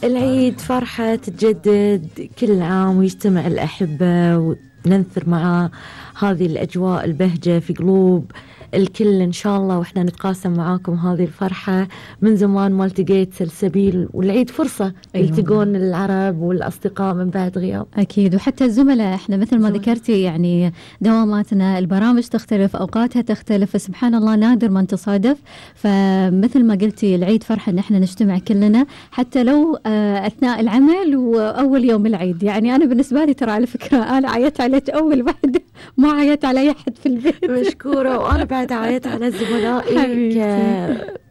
العيد فرحة تتجدد كل عام ويجتمع الأحبة وننثر مع هذه الأجواء البهجة في قلوب الكل إن شاء الله، وإحنا نتقاسم معاكم هذه الفرحة. من زمان ما التقيت سلسبيل، والعيد فرصة يلتقون العرب والأصدقاء من بعد غياب. أكيد، وحتى الزملاء إحنا مثل ما ذكرتي يعني دواماتنا البرامج تختلف، أوقاتها تختلف، فسبحان الله نادر ما نتصادف. فمثل ما قلتي العيد فرحة إن إحنا نجتمع كلنا حتى لو أثناء العمل وأول يوم العيد. يعني أنا بالنسبة لي ترى على فكرة أنا عيت عليك أول واحدة، ما عيت على أي أحد في البيت. مشكورة. وأنا بعد عيت على زملائي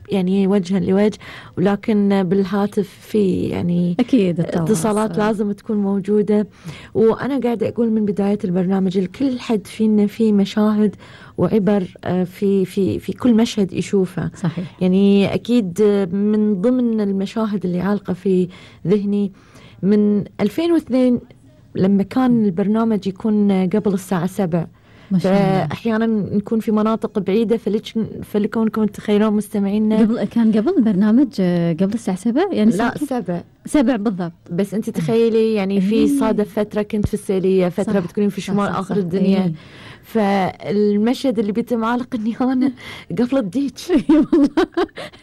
يعني وجها لوجه، ولكن بالهاتف في يعني أكيد اتصالات لازم تكون موجودة. وأنا قاعدة أقول من بداية البرنامج الكل حد فينا في مشاهد وعبر في كل مشهد يشوفه. صحيح. يعني أكيد من ضمن المشاهد اللي عالقة في ذهني من 2002 لما كان البرنامج يكون قبل الساعة 7، فأحيانا نكون في مناطق بعيدة، فلكونكم تتخيلون مستمعينا كان قبل البرنامج قبل الساعة 7 يعني لا 7 بالضبط. بس أنت تخيلي يعني في صادف فترة كنت في السيلية، فترة بتكونين في شمال آخر الدنيا. فالمشهد اللي بيتم عالق اني انا قفلت ديك والله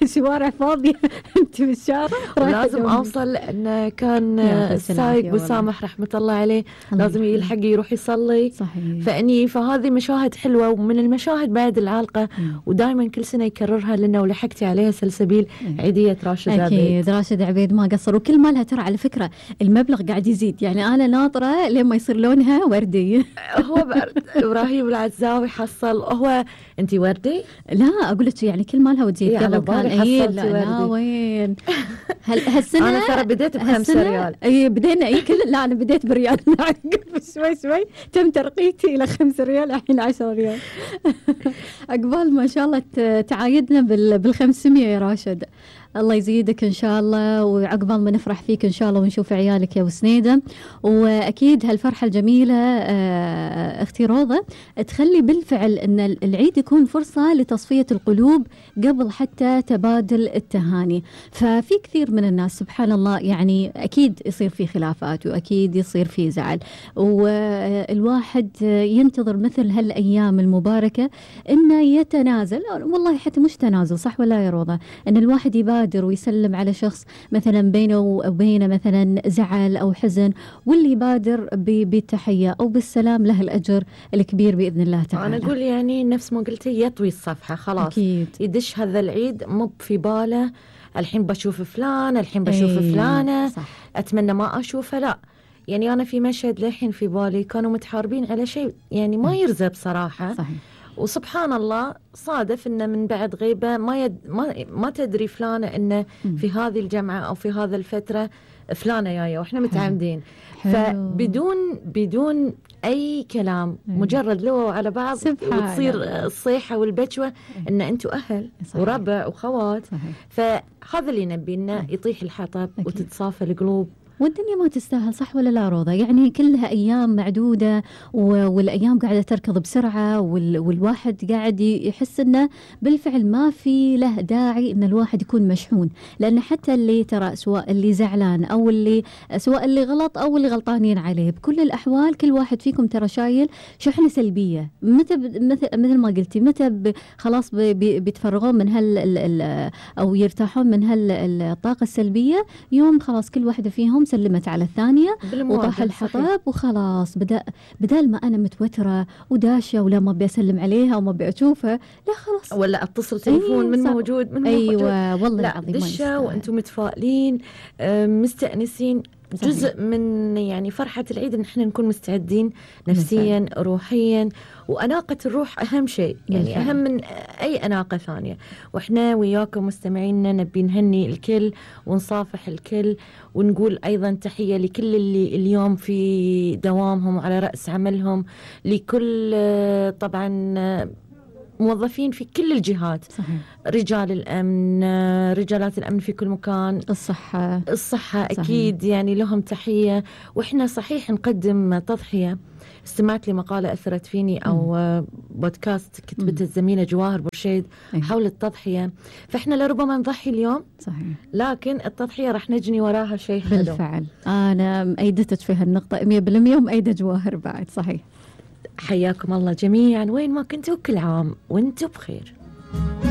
شوارع فاضيه انت بالشارع لازم اوصل، لان كان السايق وسامح رحمه الله عليه لازم يلحق يروح يصلي. صحيح. فهذه مشاهد حلوه، ومن المشاهد بعد العالقه ودائما كل سنه يكررها لنا، ولحقتي عليها سلسبيل عيديه راشد عبيد. اكيد راشد عبيد ما قصر، وكل مالها ترى على فكره المبلغ قاعد يزيد. يعني انا ناطره لما يصير لونها وردي. هو ابراهيم العزاوي حصل هو انت وردي؟ لا اقول لك يعني كل مالها وتزيد. قبل كان لا وين هالسنه انا ترى بديت ب5 ريال. اي بدينا لا انا بديت بريال شوي تم ترقيتي الى 5 ريال الحين 10 ريال. عقبال ما شاء الله تعايدنا بال500 يا راشد. الله يزيدك إن شاء الله، وعقبال ما نفرح فيك إن شاء الله ونشوف عيالك يا أبو سنيدة. وأكيد هالفرحة الجميلة أختي روضة تخلي بالفعل أن العيد يكون فرصة لتصفية القلوب قبل حتى تبادل التهاني. ففي كثير من الناس سبحان الله يعني أكيد يصير في خلافات وأكيد يصير في زعل، والواحد ينتظر مثل هالأيام المباركة أنه يتنازل، والله حتى مش تنازل صح ولا يا روضة، أن الواحد يبادر ويسلم على شخص مثلا بينه وبينه مثلا زعل أو حزن، واللي يبادر بالتحية أو بالسلام له الأجر الكبير بإذن الله تعالى. أنا أقول يعني نفس ما قلتي يطوي الصفحة خلاص. أكيد. يدش هذا العيد مو في باله الحين بشوف فلان، الحين بشوف فلانة، صح. أتمنى ما أشوفه. لا يعني أنا في مشهد للحين في بالي كانوا متحاربين على شيء يعني ما يرزق بصراحة. صحيح. وسبحان الله صادف إنه من بعد غيبة ما تدري فلانة إنه في هذه الجمعة أو في هذا الفترة فلانة جاية وإحنا متعامدين. بدون أي كلام مجرد لو على بعض وتصير الصيحة والبشوة إن أنتوا أهل وربع وخوات. فهذا اللي نبينا يطيح الحطب وتتصافى القلوب. والدنيا ما تستاهل صح ولا لا روضة؟ يعني كلها أيام معدودة والأيام قاعدة تركض بسرعة والواحد قاعد يحس إنه بالفعل ما في له داعي إن الواحد يكون مشحون، لأن حتى اللي ترى سواء اللي زعلان أو سواء اللي غلط أو اللي غلطانين عليه، بكل الأحوال كل واحد فيكم ترى شايل شحنة سلبية. مثل ما قلتي متى خلاص بيتفرغون من أو يرتاحون من الطاقة السلبية يوم خلاص كل واحدة فيهم سلمت على الثانية وطاح الحطب وخلاص. بدل ما أنا متوترة وداشة ولا ما بيسلم عليها وما بيشوفها، لا خلاص ولا أتصل تليفون من موجود من أيوة موجود. والله لا العظيم دشة وأنتم متفائلين مستأنسين. جزء من يعني فرحة العيد إن إحنا نكون مستعدين نفسيا روحيا، وأناقة الروح أهم شيء يعني أهم من أي أناقة ثانية. وإحنا وياكم مستمعينا نبي نهني الكل ونصافح الكل، ونقول أيضا تحية لكل اللي اليوم في دوامهم على رأس عملهم، لكل طبعا موظفين في كل الجهات. صحيح. رجال الأمن، رجالات الأمن في كل مكان، الصحة صحيح. أكيد يعني لهم تحية. وإحنا صحيح نقدم تضحية. استمعت لمقالة أثرت فيني أو بودكاست كتبته الزميلة جواهر برشيد حول التضحية. فإحنا لربما نضحي اليوم صحيح، لكن التضحية رح نجني وراها شيء حلو. بالفعل أنا مأيدتك في هالنقطة 100% ومأيدة جواهر بعد. صحيح. حياكم الله جميعا وين ما كنتوا، كل عام وانتوا بخير.